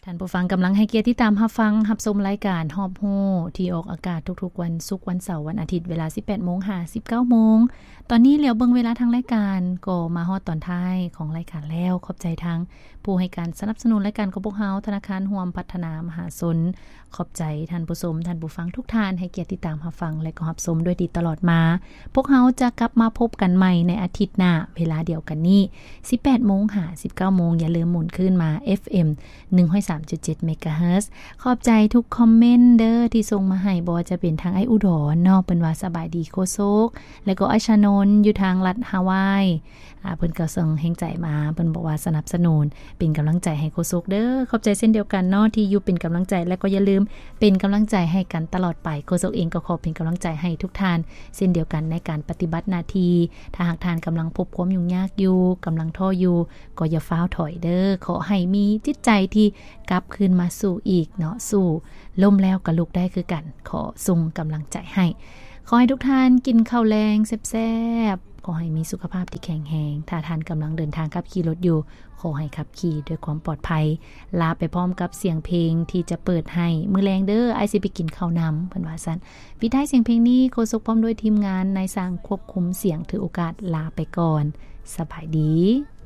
ທ່ານຜູ້ຟັງກຳລັງໃຫ້ກຽດຕິດຕາມຮັບຟັງ ຮັບຊົມລາຍການຮອບຮູ້ ທີ່ອອກອາກາດທຸກໆວັນສຸກ, ວັນເສົາ, ວັນອາທິດ ເວລາ ສິບແປດໂມງຫາ ສິບເກົ້າໂມງ. ຕອນນີ້ຫຼຽວເບິ່ງເວລາທາງລາຍການ ກໍມາຮອດຕອນທ້າຍຂອງລາຍການແລ້ວ. ຂອບໃຈທາງຜູ້ໃຫ້ການສະໜັບສະໜູນລາຍການຂອງພວກເຮົາ, ທະນາຄານຮ່ວມພັດທະນາມະຫາຊົນ. ຂອບໃຈທ່ານຜູ້ຊົມ, ທ່ານຜູ້ຟັງທຸກທ່ານ ໃຫ້ກຽດຕິດຕາມຮັບຟັງ ແລະ ກໍຮັບຊົມດ້ວຍດີຕະຫຼອດມາ. ພວກເຮົາຈະກັບມາພົບກັນໃໝ່ໃນອາທິດໜ້າ ເວລາດຽວກັນນີ້ ສິບແປດໂມງຫາ ສິບເກົ້າໂມງ. ຢ່າລືມໝູນຄືນມາ ເອັຟເອັມ ໜຶ່ງຮ້ອຍສາມຈຸດເຈັດເມກາເຮີດ. ຂອບໃຈທຸກຄອມເມັນເດີ ທີ່ສົ່ງມາໃຫ້, ບໍ່ວ່າຈະເປັນທາງອ້າຍອຸດອນເນາະ, ເພິ່ນວ່າສະບາຍດີໂຄສົກ, ແລ້ວກໍອ້າຍຊານົນຢູ່ທາງລັດຮາວາຍ, ອາ ເພິ່ນກໍສົ່ງແຮງໃຈມາ, ເພິ່ນບອກວ່າສະໜັບສະໜູນ ເປັນກຳລັງໃຈໃຫ້ໂຄສົກເດີ. ຂອບໃຈເຊັ່ນດຽວກັນເນາະ ທີ່ຢູ່ເປັນກຳລັງໃຈ ແລະ ກໍຢ່າລືມເປັນກຳລັງໃຈໃຫ້ກັນຕະຫຼອດໄປ. ໂຄສົກເອງກໍຂໍເປັນກຳລັງໃຈໃຫ້ທຸກທ່ານເຊັ່ນດຽວກັນ ໃນການປະຕິບັດໜ້າທີ່. ຖ້າຫາກທ່ານກຳລັງພົບຄວາມຫຍຸ້ງຍາກຢູ່, ກຳລັງທໍ້ຢູ່, ກໍຢ່າຟ້າວຖອຍເດີ. ຂໍໃຫ້ມີຈິດໃຈທີ່ກັບຄືນມາສູ້ອີກເນາະ, ສູ້ລົ້ມແລ້ວກໍລຸກໄດ້ຄືກັນ. ຂໍສົ່ງກຳລັງໃຈໃຫ້. ຂໍໃຫ້ທຸກທ່ານກິນເຂົ້າແລງແຊບໆ, ຂໍໃຫ້ມີສຸຂະພາບທີ່ແຂງແຮງ. ຖ້າທ່ານກຳລັງເດີນທາງຂັບຂີ່ລົດຢູ່, ຂໍໃຫ້ຂັບຂີ່ດ້ວຍຄວາມປອດໄພ. ລາໄປພ້ອມກັບສຽງເພງທີ່ຈະເປີດໃຫ້ມື້ແລງເດີ, ອ້າຍຊິໄປກິນເຂົ້ານຳ, ເພິ່ນວ່າຊັ້ນ. ປິດທ້າຍສຽງເພງນີ້, ໂຄສົກພ້ອມດ້ວຍທີມງານນາຍຊ່າງຄວບຄຸມສຽງ ຖືໂອກາດລາໄປກ່ອນ. ສະບາຍດີ.